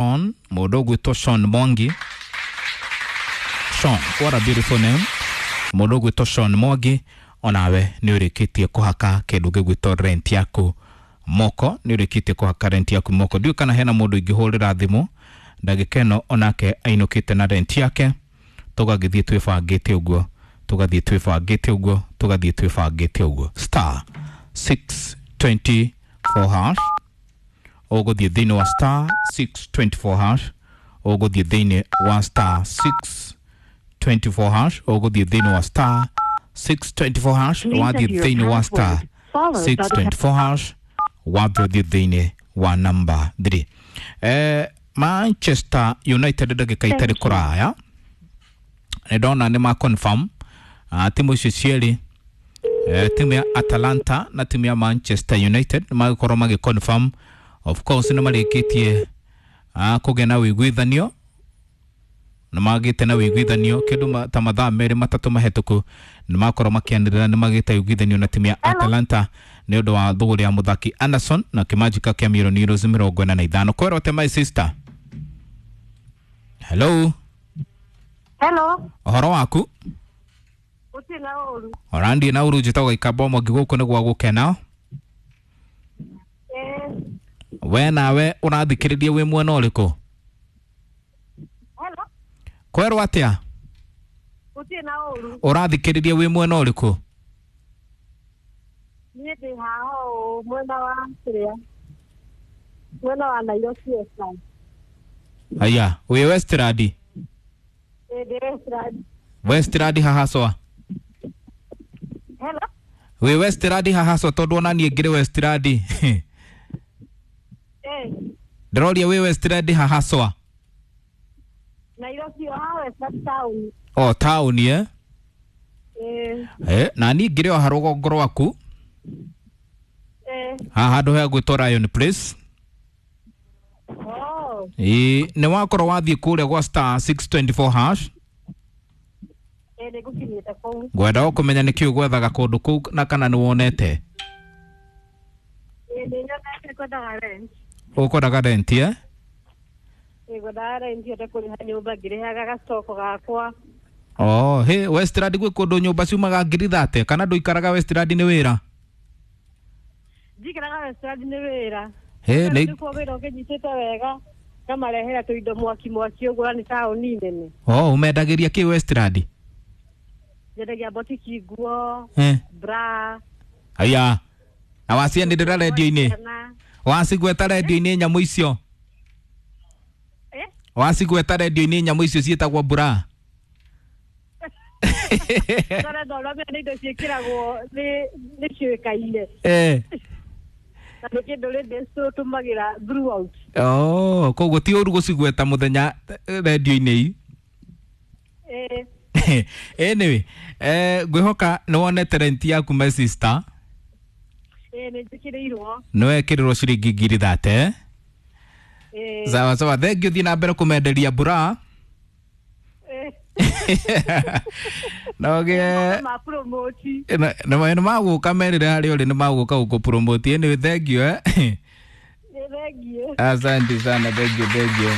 Sean, mũndũ ũgwĩtwo Sean Mwangi. Sean, what a beautiful name. Mũndũ ũgwĩtwo Sean Mwangi onawe nĩ ũrĩkĩtie kũhaka kĩndũ gĩgwĩtwo rent yaku moko, nĩ ũrĩkĩtie kũhaka rent yaku moko. Ndiũĩ kana hena mũndũ ingĩhũrĩra thimũ ndagĩka ĩno onake ainũkĩte na rent yake, tũgagĩthiĩ twĩbangĩte ũguo, tũgathiĩ twĩbangĩte ũguo, tũgathiĩ twĩbangĩte ũguo. Star 624 hash, ũgũthiĩ thĩinĩ wa star 624 hash, ũgũthiĩ thĩinĩ wa star 624 hash, ũgũthiĩ thĩinĩ wa star 624 hash, wathiĩ thĩinĩ wa star 624 hash, wambe ũthiĩ thĩinĩ wa namba 3. Manchester United ndagĩka itarĩ kũraya nĩ ndona nĩ ma confirm timu icio cierĩ, timu ya Atalanta na timu ya Manchester United nĩ magĩkorwo magĩ confirm. Of course nĩ marĩkĩtie kũgĩa na ũiguithanio, nĩ magĩte na ũiguithanio kĩndũ ta mathaa merĩ matatũ mahĩtũku, nĩ makorwo makĩanĩrĩra nĩ magĩte ũiguithanio na timu ya Atalanta nĩ ũndũ wa thũgũrĩ ya mũthaki Anderson na kĩmanjĩka kĩa mirioni euros 45. Kwerote my sister. Hello. Hello. Ũhoro waku? Gũtirĩ na ũru. Orandiĩ na ũru, njĩtagwo Gĩkamba Mwangi, gũkũ nĩ gwa gũkena. We nawe ũrathikĩrĩria wĩ mwena ũrĩkũ? Hello. Kwerwo atĩa? Gũtirĩ na ũru. Ũrathikĩrĩria wĩ mwena ũrĩkũ? Niĩ ndĩ haha ũũ mwena wa kĩrĩa, mwena wa Nairobi Westlands. Aya, wĩ Westland? Ĩĩ, ndĩ Westlands. Westland haha cwa? Hello. Wĩ Westland haha cwa? Tondũ ona niĩ ngĩrĩ Westland. Ndĩroria wĩ Westland haha cwa? Nairobi o haha Westlands town. O taũni eh? Ĩĩ. Na niĩ ngĩrĩ o harũgongo rwaku haha handũ he gwĩtwo Lion Place. Oh. Ĩĩ, nĩ wakorwo wathiĩ kũrĩa gwa star 624 hash? Ĩĩ, nĩ ngũkinyĩte kũu. Ngwenda o kũmenya nĩkĩ ũgwethaga kũndũ kũu na kana nĩ wonete. Ĩĩ, nĩ nyonete, ngwendaga rent. Ũkwendaga rent eh? Ĩĩ, ngwendaga rent hote kũrĩha nyũmba ngĩrĩhaga gacoko gakwa. Oh, he Westland gwĩ kũndũ nyũmba ciumaga ngiri 30, kana ndũikaraga Westland nĩ wĩra? Njikaraga Westlands nĩ wĩra. He nĩ nĩkuo wĩra ũkĩnyitĩte wega ngamarehera tũindo mwaki mwaki ũguo, na nĩ taũni nene. Oh, ũmendagĩria kĩ Westland? Nyendagia botiki, nguo, bra. Aya. Na wacianĩrĩra redio-inĩ? Kana- Wacigweta redio-inĩ nyamũ icio? Eh? Wacigweta redio-inĩ nyamũ icio ciĩtagwo bra? Ndona ndona nĩ indo ciĩkĩragwo nĩ ciũĩkaine na nĩ kĩndũ rĩndĩ tũtũmagĩra throughout. Oh, koguo ti ũru gũcigweta mũthenya redio-inĩ. Eh. Anyway, ngwĩhoka nĩ wonete rent yaku my sister. Ĩĩ, nĩ njĩkĩrĩirwo. Nĩ wekĩrĩrwo ciringi ngiri 30. Ĩĩ. Sawa sawa, thengiũ, thiĩ na mbere kũmenderia bra. No gĩe Ma promote. Nĩ magũka merĩre harĩa ũrĩ, nĩ magũka gũkũ promote. Anyway, thengiũ eh. Nĩ thengiũ. Asante sana, thank you, thank you.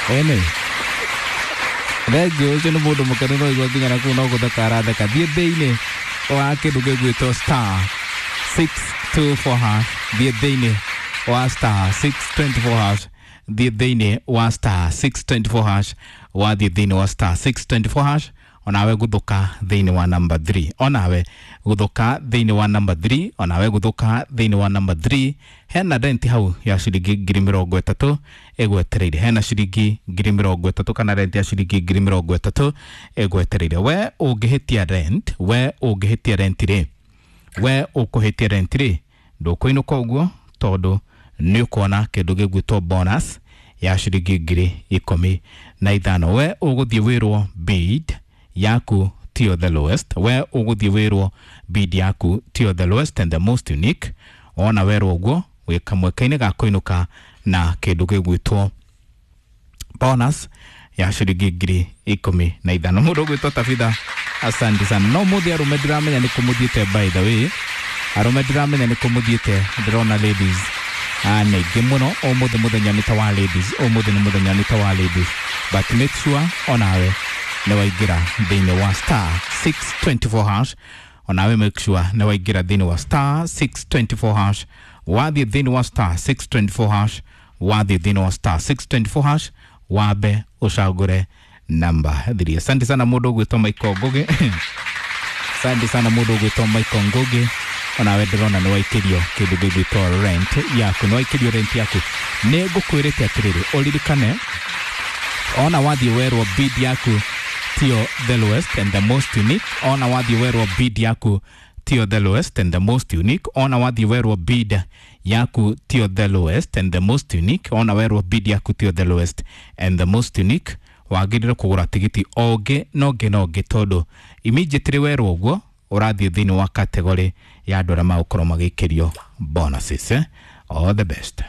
Anyway, thengiũ, ũcio nĩ mũndũ mũkenu, no igua nginya na kũu no gũtheka aratheka. Thiĩ thĩinĩ wa kĩndũ gĩgwĩtwo star 624 hash, thiĩ thĩinĩ wa star 624 hash, thiĩ thĩinĩ wa star 624 hash, wathiĩ thĩinĩ wa star 624 hash, onawe gũthũka thĩinĩ wa number 3, onawe gũthũka thĩinĩ wa number 3, onawe gũthũka thĩinĩ wa number 3. Hena rent hau ya ciringi 30,000 ĩgwetereire, hena ciringi 30,000 kana rent ya ciringi 30,000 ĩgwetereire. We ũngĩhĩtia rent, we ũngĩhĩtia rent rĩ, we ũkũhĩtia rent rĩ, ndũkũinũka ũguo, tondũ nĩ ũkuona kĩndũ gĩgwĩtwo bonus ya ciringi 15,000. We ũgũthiĩ wĩrwo bid yaku tiyo the lowest, we ũgũthiĩ wĩrwo bid yaku tiyo the lowest and the most unique. Wona werwo ũguo, wĩ kamweke-inĩ ga kũinũka na kĩndũ gĩgwĩtwo bonus ya ciringi 15,000. Mũndũ ũgwĩtwo Tabitha, asante sana. No mũthĩ arũme ndiramenya nĩ kũmũthiĩte, by the way, arũme ndiramenya nĩ kũmũthiĩte, ndĩrona ladies. Nĩ aingĩ mũno. Ũmũthĩ mũthenya nĩ ta wa ladies, ũmũthĩ nĩ mũthenya nĩ ta wa ladies, but make sure onawe nĩ waingĩra thĩinĩ wa star 624 hash. Onawe make sure nĩ waingĩra thĩinĩ wa star 624 hash. Wathiĩ thĩinĩ wa star 624 hash, wathiĩ thĩinĩ wa star 624 hash, wambe ũcagũre namba 3. Asante sana mũndũ ũgwĩtwo Michael Ngugi. Asante sana mũndũ ũgwĩtwo Michael Ngugi, onawe ndĩrona nĩ waikĩrio kĩndũ gĩgwĩtwo rent yaku, nĩ waikĩrio rent yaku. Nĩ ngũkwĩrĩte atĩrĩrĩ, ũririkane ona wathiĩ werwo bid yaku tio the lowest and the most unique, ona wathiĩ werwo bid yaku tio the lowest and the most unique, ona wathiĩ werwo bid yaku tio the lowest and the most unique, ona werwo bid yaku tio the lowest and the most unique, wagĩrĩire kũgũra tigiti o ũngĩ na ũngĩ na ũngĩ, tondũ immediately werwo ũguo ũrathiĩ thĩinĩ wa category ya andũ arĩa magũkorwo magĩikĩrio bonuses, eh? All the best.